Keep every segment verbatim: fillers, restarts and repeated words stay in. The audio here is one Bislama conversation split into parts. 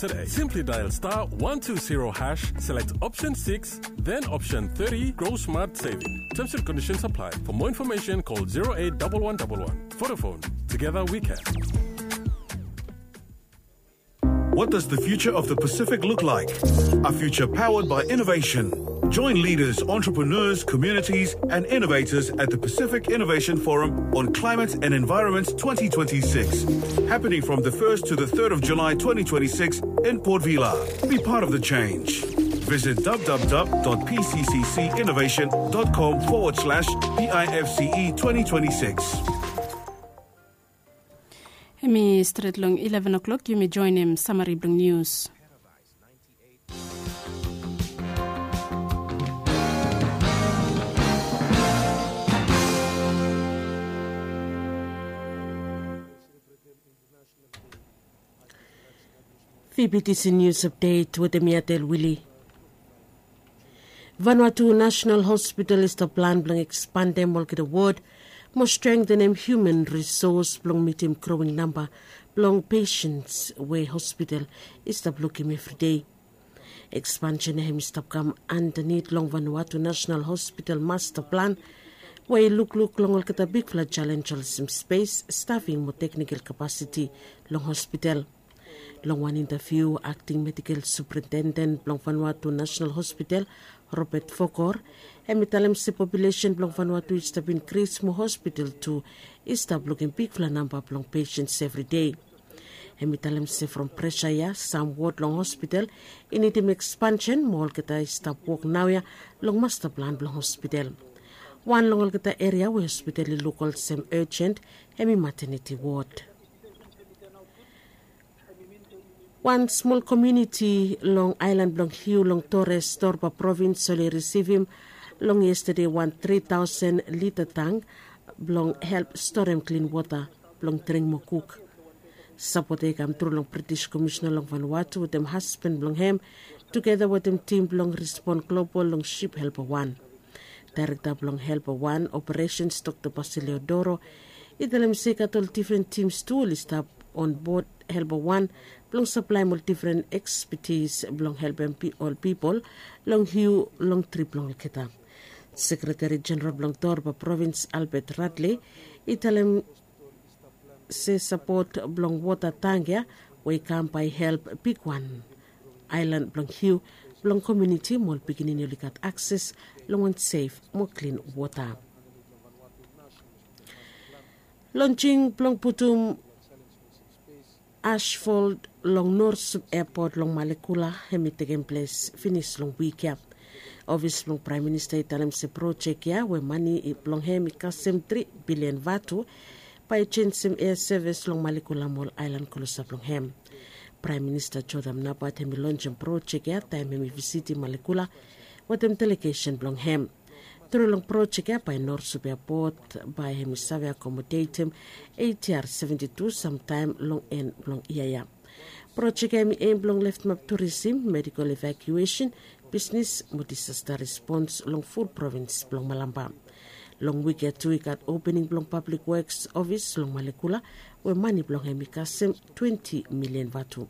today. Simply dial star one two zero hash, select option six, then option thirty, grow smart saving. Terms and conditions apply. For more information, call zero eight double one double one. Vodafone. Together we can. What does the future of the Pacific look like? A future powered by innovation. Join leaders, entrepreneurs, communities, and innovators at the Pacific Innovation Forum on Climate and Environment twenty twenty-six, happening from the first to the third of July twenty twenty-six in Port Vila. Be part of the change. Visit w w w dot p c c c innovation dot com forward slash p i f c e twenty twenty-six. Hemi stret long eleven o'clock, yumi joinim samari blong nius. Vbtc News Update wetem mi Adel Wili. Vanuatu National Hospital i stap plan blong ekspandem olgeta wod mo strengtenem human risos blong mitim growing namba blong pesens we hospital i stap lukim evri dei. Ekspansen ya hem i stap kam andanit long Vanuatu National Hospital masta plan we i lukluk long olgeta bigfala jalenj olsem spes, stafing mo teknikal kapasiti long hospital. Long wan intaviu, akting medikal suprintenden blong Vanuatu National Hospital, Robert Fokor, hem i talem se populesen blong Vanuatu i stap inkris mo hospital tu i stap lukim bigfala namba blong pesens evri dei. Hem i talem se from presa ya, sam wod long hospital i nidim ekspansen mo olgeta i stap wok naoia long masta plan blong hospital. Wan long olgeta eria we hospital i luk olsem urgent hem i mateniti wod. Wan smol komuniti long aelan blong Hiu long Torres, Torba provins, oli risivim long yestade wan tri taosen lita tang blong help storem klin wota blong dring mo kuk. Sapot ya i kam tru long British Komisina long Vanuatu wetem hasban blong hem tugeta wetem tim blong Respon Global long sip helpa wan. Daerekta blong helpa wan operesens, Dokta Basilio Doro, i talem se i gat ol difren tims tu oli stap onbod helpa wan blong saplaem ol difren ekspetis blong helpem pi- ol pipol long Hiu long trip blong olgeta. Sekreteri Jeneral blong Torba provins, Albert Radley, i talem se sapot blong wota tang ya we i kam bae i help bigwan aelan blong Hiu blong komuniti mo ol pikinini oli gat akses long wan sef mo klin wota. Lonjing blong putum asfalt long Norsup Airport long Malekula hem i tekem ples finis long wik ya. Ofis blong Praem Minista i talem se projek ya we mane blong hem i kasem tri bilian vatu bae i jenisim air sevis long Malekula mo ol aelan klosap long hem. Praem Minista Jotham Napat hem i lonjem projek ya taem hem i visitim Malekula wetem delegesen blong hem. Tru long projek ya bae Norsup Airport bae hem i save akomodetem ATR seventi tu samtaem long en blong yia ya. Projek ya hem i em blong leftemap turisim, medikal evakuesen, bisnes mo disasta respons long ful provins blong Malampa. Long wik ya tu i gat opening blong Pablik Woks ofis long Malekula we mane blong hem i kasem twenti milian vatu.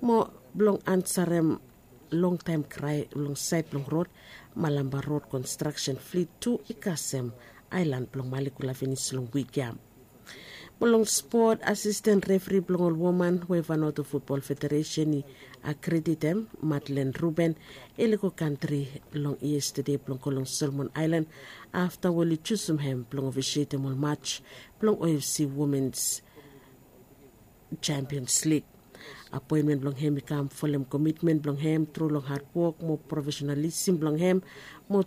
Mo blong ansarem longtaem krae long saed blong rod, Malampa Rod Konstraksen Flit tu i kasem aelan blong Malekula finis long wik ya. Mo long spot, asisten refri blong ol woman we Vanuatu Futbol Federesen i akreditem, Madeleine Ruben, i lego kantri long yestade blong go long Solomon Aelan afta we oli jusum hem blong ofisietem ol maj blong OFC Womens Champions League. Apoenmen blong hem i kam folem komitmen blong hem tru long hadwok mo profesenalisem blong hem mo